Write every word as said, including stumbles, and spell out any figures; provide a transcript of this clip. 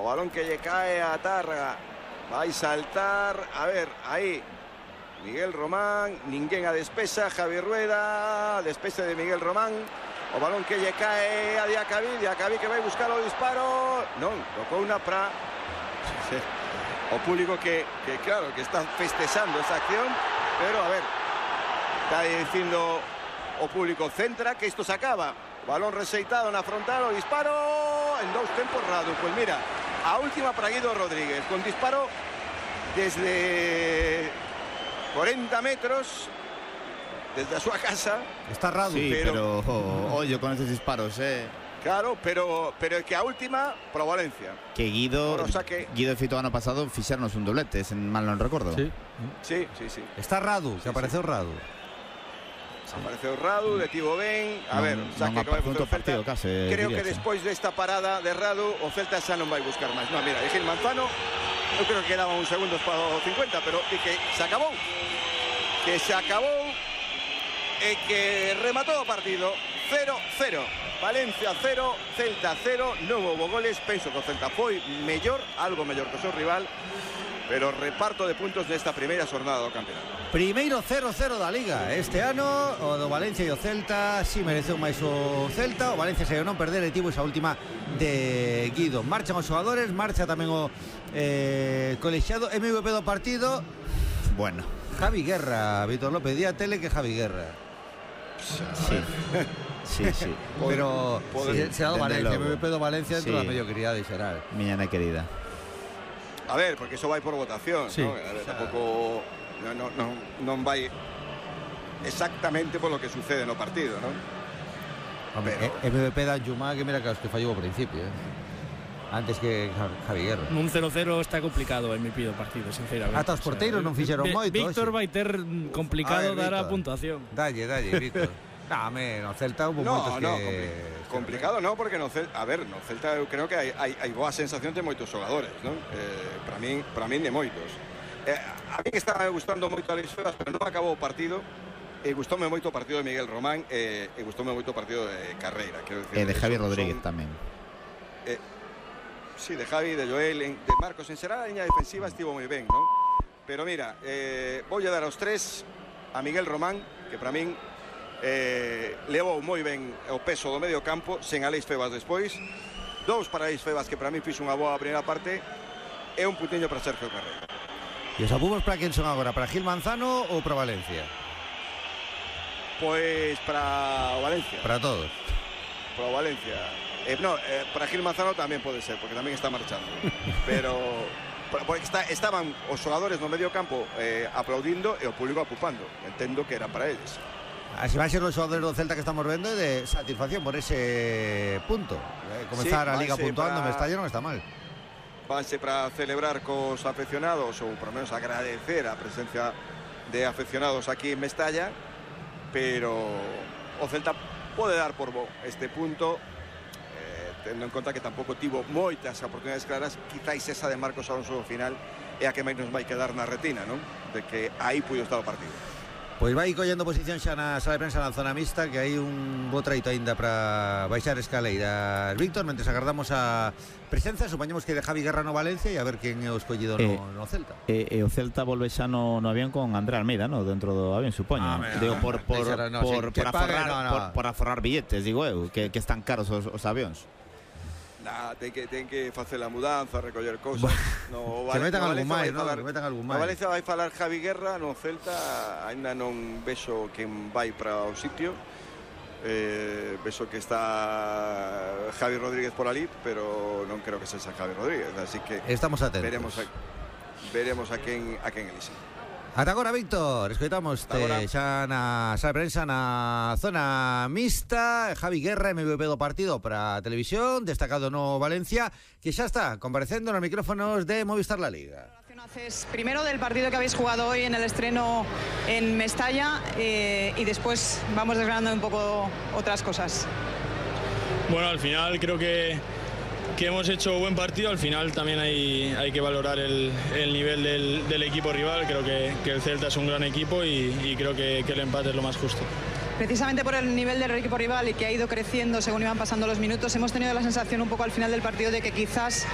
o balón que lle cae a Tárraga. Vai saltar, a ver, aí Miguel Román, ninguén a despesa, Javi Rueda, despese de Miguel Román, o balón que lle cae a Diacabí, Diacabí que vai buscar o disparo, non, tocou unha pra o público que, que claro, que está festexando esa acción, pero a ver, está dicindo o público centra que isto se acaba, balón reseitado na frontal, o disparo en dous tempos Radu, pois mira, a última para Guido Rodríguez, con disparo desde cuarenta metros, desde a súa casa. Está Radu, sí, pero, pero oh, ollo con esos disparos, eh. Claro, pero pero é que a última pro Valencia. Que Guido, saque... Guido fito ano pasado fixernos un doblete, se mal non recordo. Sí, sí, sí, sí. Está Radu, que sí, apareceu sí. Radu. Apareceu Radu, detivo ben. A non, ver, saque que vai facer o Celta. Case, creo que despois desta parada de Radu, o Celta xa non vai buscar máis. Non, mira, é Gil Manzano, eu creo que quedaban uns segundos para o cincuenta, pero é que se acabou. Que se acabou e que rematou o partido. cero cero. Valencia cero, Celta cero, non houve goles. Penso que o Celta foi mellor, algo mellor que o seu rival, pero reparto de puntos nesta primeira xornada do campeonato. Primeiro cero cero da Liga este ano, o do Valencia e o Celta si mereceu máis o Celta. O Valencia se non perder e tivo esa última de Guido. Marchan os xogadores, marcha tamén o eh, colexiado. M V P do partido, bueno, Javi Guerra, Víctor López, di a tele que Javi Guerra. Sí. Sí, sí. Pero se, se ha dado Valencia, M V P do Valencia dentro sí. da mediocridade xeral. Miña nai querida. A ver, porque eso vai por votación, sí, ¿no? A ver, tampouco non no, no, non vai exactamente por lo que sucede no partido, ¿no? Hombre, pero... M V P da Jumá que mira que os que fallou ao principio, eh? Antes que Javi Guerra. Un cero cero está complicado en mi pido partido, sinceramente. Ata os porteiros non fixeron moito. Víctor vai ter complicado ver, dar Víctor. a puntuación. Dalle, dalle, Víctor. Dame, no Celta hubo no, moitos no, que... complicado no, porque no Celta, a ver, no Celta eu creo que hai, hai, hai boa sensación de moitos xogadores, non? Eh, para min, para min de moitos. Eh, a mí que estaba gustando moito a Luis Febas, pero non acabou o partido. E gustoume moito o partido de Miguel Román, e eh, gustoume moito o partido de Carreira, quero decir, e de Javi son, Rodríguez son, tamén. Eh, sí, de Javi, de Joel, en, de Marcos, en xeral a liña defensiva estivo moi ben, non? Pero mira, eh, voulle dar aos tres a Miguel Román, que para min eh, levou moi ben o peso do medio campo, sen Alex Febas despois. Dous para Alex Febas, que para min fixo unha boa primeira parte, e un puntiño para Sergio Carreira. E os apuros para quen son agora? Para Gil Manzano ou para Valencia? Pois para o Valencia. Para todos. Para o Valencia. Eh, no, eh, para Gil Manzano tamén pode ser, porque tamén está marchando. Pero porque está, estaban os xogadores no medio campo eh, aplaudindo e o público apupando. Entendo que era para eles. Así van a ser os xogadores do Celta que estamos vendo de satisfacción por ese punto. Eh, comenzar sí, a Liga puntuando para... en Mestalla non está mal. Vanse para celebrar cos afeccionados, ou por lo menos agradecer a presencia de afeccionados aquí en Mestalla, pero o Celta pode dar por bo este punto, eh, tendo en conta que tampouco tivo moitas oportunidades claras. Quizáis esa de Marcos Alonso no final é a que máis nos vai quedar na retina, non? De que aí puido estar o partido. Pois vai collendo posición xa na sala de prensa na zona mixta, que hai un bo traito aínda para baixar escaleiras. Víctor, mentres agardamos a presenza, supoñemos que de Javi Guerra no Valencia e a ver quen é o escollido no, eh, no Celta. E eh, eh, o Celta volve xa no, no avión con André Almeida, no? Dentro do avión, supoño. Ah, Digo, por, por, por, no, por, sí, por, aforrar, no, no. por, por aforrar billetes, digo eu, que, que están caros os, os avións. Nah, ten que, ten que facer a mudanza, recoller cousas. No, que metan algún máis, no? Que metan algún máis. No Valencia vai falar Javi Guerra, no Celta aínda non vexo quen vai para o sitio. Eh, vexo que está Javi Rodríguez por ali, pero non creo que sexa Javi Rodríguez, así que estamos atentos. Veremos a, veremos a quen a quen elixe. Ata agora, Víctor, escoitamos xa na sala de prensa na zona mixta. Javi Guerra, M V P do partido para a televisión, destacado no Valencia, que xa está comparecendo nos micrófonos de Movistar La Liga. Primero del partido que habéis jugado hoy en el estreno en Mestalla eh, y después vamos desgranando un poco otras cosas. Bueno, al final creo que que hemos hecho buen partido. Al final también hay, hay que valorar el, el nivel del, del equipo rival. Creo que, que el Celta es un gran equipo y, y creo que, que el empate es lo más justo. Precisamente por el nivel del equipo rival y que ha ido creciendo según iban pasando los minutos, hemos tenido la sensación un poco al final del partido de que quizás